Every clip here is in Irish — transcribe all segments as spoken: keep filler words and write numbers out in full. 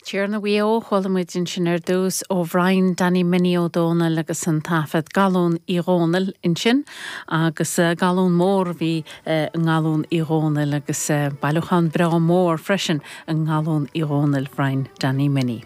Tiarna Mhaigh Eo chuala muid ansin ar dtús ó Bhrian Danny Minnie Ó Dónaill agus an taifead Galún Uí Dhónaill ansin agus galún mór bhí i nGalún Uí Dhónaill agus bailiúchán breá mór freisin i nGalún Uí Dhónaill Bhrian Danny Minnie.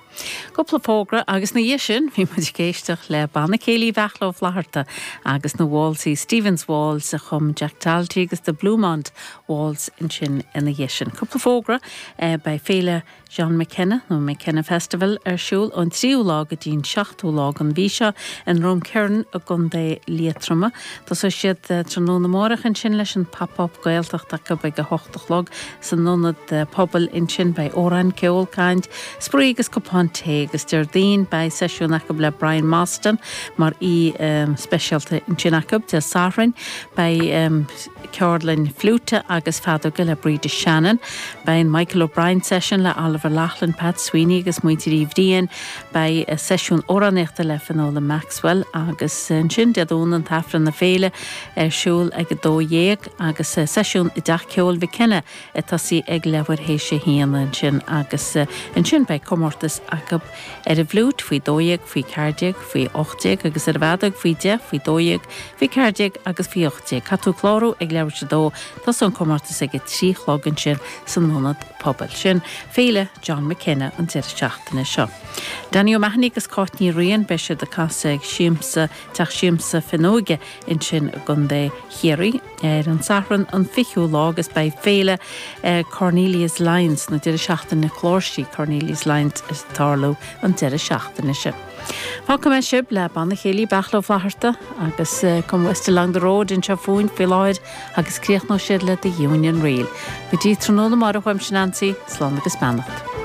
Cúpla fógra agus ina dhiaidh sin bhí muid ag éisteacht le Banna Céilí Bheachla Ó Flatharta agus na Waltz Stevens Waltz a chum Jack Talty agus the Bluemont Waltz ansin ina dhiaidh sin. Cúpla fógra beidh féile John McKenna nó McKenna Festival ar siúl ón tríú lá go dtí'n seachtú lá den mhí seo in Drumkeerin i gContae Liatroma. Tosóidh siad tráthnóna amárach ansin leis an pop-up Gaeltacht acu ag a hocht a chlog san ionad pobail ansin beidh amhráin ceol caint, spraoi agus cupán tae agus Déardaoin beidh seisiún acu le Brian Mostyn mar aoi um, speisialta ansin acu Dé Sathairn beidh um, ceardlann fliúite agus feadóige le Bríde Shannon, Beidh Michael O'Brien session le Oliver Loughlin, Pat Sweeney agus muintir Uí Bhriain beidh seisiún amhránaíochta le Finola Maxwell agus ansin Dé Domhnaigh an tAifreann na féile ar siúl ag a dó dhéag agus seisiún i dTeach Ceoil McKenna ag tosú ag leathuair théis a haon ansin agus ansin beidh comórtas acu ar an bhfliúit faoi dó dhéag faoi ceathair déag faoi ocht déag agus ar an bhfeadóg faoi deich faoi dó dhéag faoi ceathair déag agus faoi ocht déag. Caithfidh tú clárú ag leathuair tar éis a dó tosóidh an comórtas ag a trí chlog ansin san ionad pobail sin féile John McKenna an deireadh seachtaine seo. Danny O'Mahony agus Cáit Ní Riain beidh siad ag casadh ag Siamsa Teach Siamsa Fionnóige ansin i gContae Chiarraí ar an Satharn an fichiú lá agus beidh féile eh, Cornelius Lyons na deireadh seachtaine cláirsí Cornelius Lyons ag tarlú an deireadh seachtaine sin. Fágfaidh mé sibh le Banna Céilí Beachla Ó Flatharta agus uh, Come West Along the Road anseo fúinn faoi láthair agus críochnóidh siad le The Union Reel. Go dtí tráthnóna amárach uaimse Nancy, slán agus beannacht.